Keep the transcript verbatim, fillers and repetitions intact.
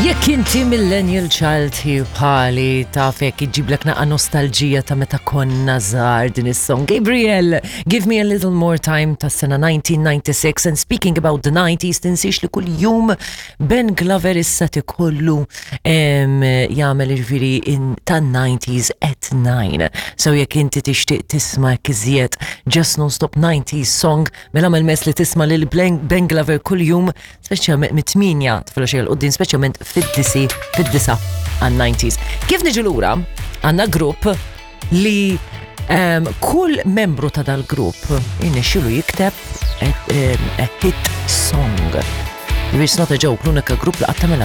Jekk inti millennial child bħali, taf hekk iġiblek naqa nostalġija ta' meta konna żgħar din is-song. Gabriel, "Give Me a Little More Time" ta' sena elf disa' mija u disgħa u disgħin. And speaking about the nineties, tinsiex li kull jum Ben Glover issa tikollu em, jagħmel ġifieri tan-nineties at nine. So jekk inti tixtieq tisma' iżjed just non-stop nineties song, mela mel mess li tisma' lil Ben Ben Glover kull jum, speċjalment mit-tmienja filgħaxija 'l quddiem, speċjalment fid-disi fid-disa għan-nineties. Kif niġu lura, għandna grupp li um, kull membru ta' dal-grupp irnexxielu jikteb a, um, a hit song. It's not a joke, l-unika grupp li qatt